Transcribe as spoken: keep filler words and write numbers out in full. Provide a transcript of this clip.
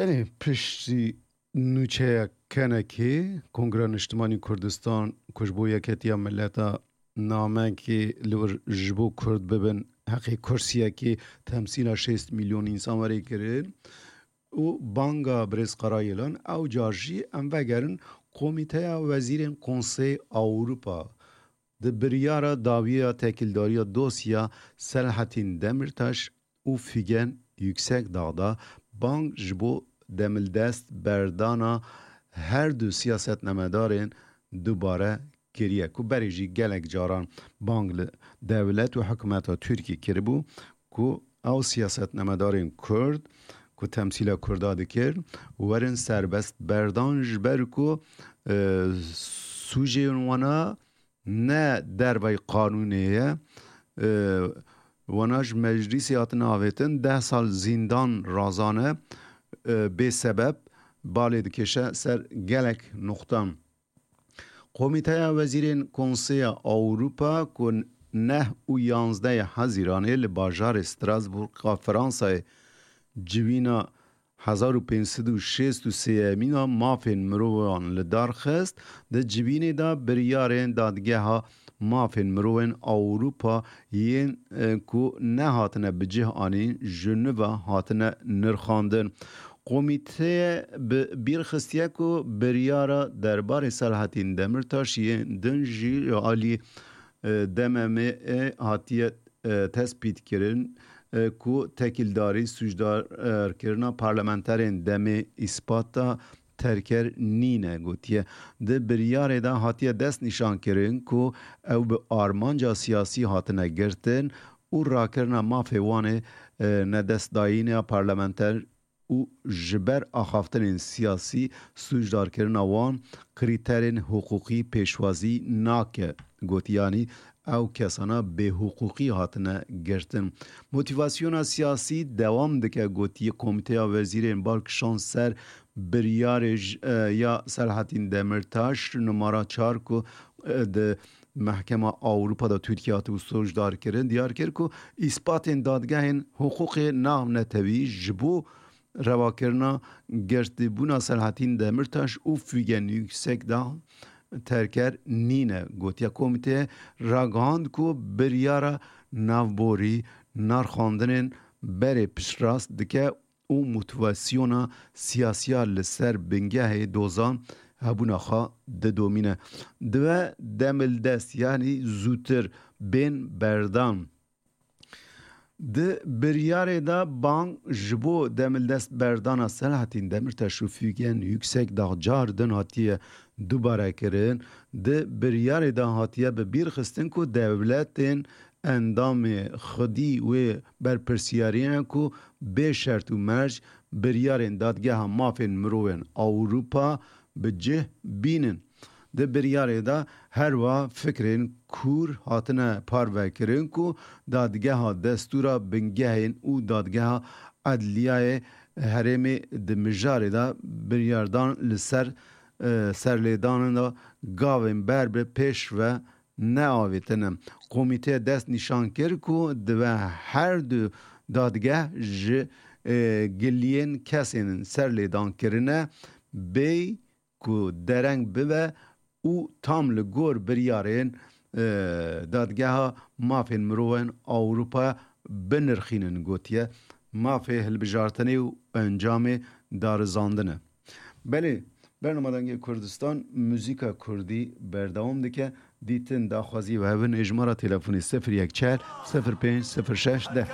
Belê, piştî nûçeya kenekê Kongra Niştimanî Kurdistan ku ji bo Yeketiya Mileta namekê li wir ji bo Kurd bibin, heqê kursiyekê temsîla şêst milyon însan werê kirin û banga birêz Qarayilan, ew car jî em vegerin Komîteya Wezîrên Konsey Ewropa di biryara dawiya tekildariya dosya Selahattin Demirtaş û Figen Yüksekdağ da bang ji bo demildest berdana her du siyasetnamedarên dubare kiriye, ku berê jî gelek caran bang li dewlet û hikûmeta Tirkî kiribû, ku ew siyasetnamedarên Kurd ku temsîla Kurda dikir, werin serbest berdan, ji ber ku, e, sûcên wana ne dervey qanûnê ye. E, wana ji meclîsê hatin avêtin, deh sal zîndan razane, e, bê sebeb balê dikêşe ser gelek nuqtan. Komîteya Wezîrên Konseya Ewropa ku neh û yanzdeh Hezîranê li bajarê Strasbourg a Fransayê civîna hezar û pênc sed û şêst û sêyemîna mafên mirovan li dar xist, di civînê de biryarên Dadgeha Mafên Mirovên Ewropa yên, e, ku nehatine bi cih anîn, Jeneva hatine nirxandin. Komîteyê bi bîr xistiye ku biryara derbarê Selahattin Demirtaş yên din jî alî, e, D M M'ê hatiye, e, tespît kirin, e, ku tekîldarî sûcdarkirina parlamenterên demê îspata terker nîne gotiye. Di biryarê de hatiye dest nîşan kirin ku ew bi armanca siyasî hatine girtin û rakirina mafê wan ê, e, nedestdayîna parlamenter û ji ber axaftinên siyasî sûcdarkirina wan krîterên hiqûqî pêşwazî nake, gotiyanî ew kesana bêhiqûqî hatine girtin. Motîvasyona siyasî dewam dike, gotiye Komîteya Wezîrên bal kişand ser biryarê j-, e, ya Selahattin Demirtaş numara çar ku, e, di Mehkema Ewropa de Tirkiye hatibû sûcdar kirin, diyar kir ku îspatên dadgehên hiqûqê navnetewî ji bo revakirina girtibûna Selahattin Demirtaş û Figen Yüksekdağ terker nîne. Gotiye komîteyê ragihand ku biryara navborî narxandinên berê piştrast dike û motivasyona siyasiya li ser bingehê dozan hebûna xwe didomîne. Divê demildest, yanî zûtir bên berdan. Di biryarê de bang ji bo demildest berdana Selahattin Demirtaş û Figen Yüksekdağ car din hatiye dubare kirin. Di biryarê de hatiye bi bîr xistin ku dewletên endamê xwedî wê berpirsiyarî ne ku bê şert û merc biryarên Dadgeha Mafên Mirovên Ewropa bi cih bînin. Di biryarê de herwiha fikrên kûr hatine parvekirin ku dadgeha destûra bingehên û dadgeha edliyayê herêmê di mijarê de biryardan li ser, e, serlêdanê de gavên ber bi pêş ve neavêtine. Komîteyê dest nîşan kir ku divê her du dadgeh ji, e, giliyên kesên serlêdan kirine bêy ku dereng bibe û tam li gor biryarên, e, Dadgeha Mafên Mirovan Ewropa binirxînin, gotiye. Mafê hilbijartinê û encamê darizandin e. Belê, bernama Dengê Kurdistan, muzîka kurdî berdewam dike. Dîtin, daxwazî û hevin ê ji me re telefonê sifir yek çar sifir pênc sifir şeş deh.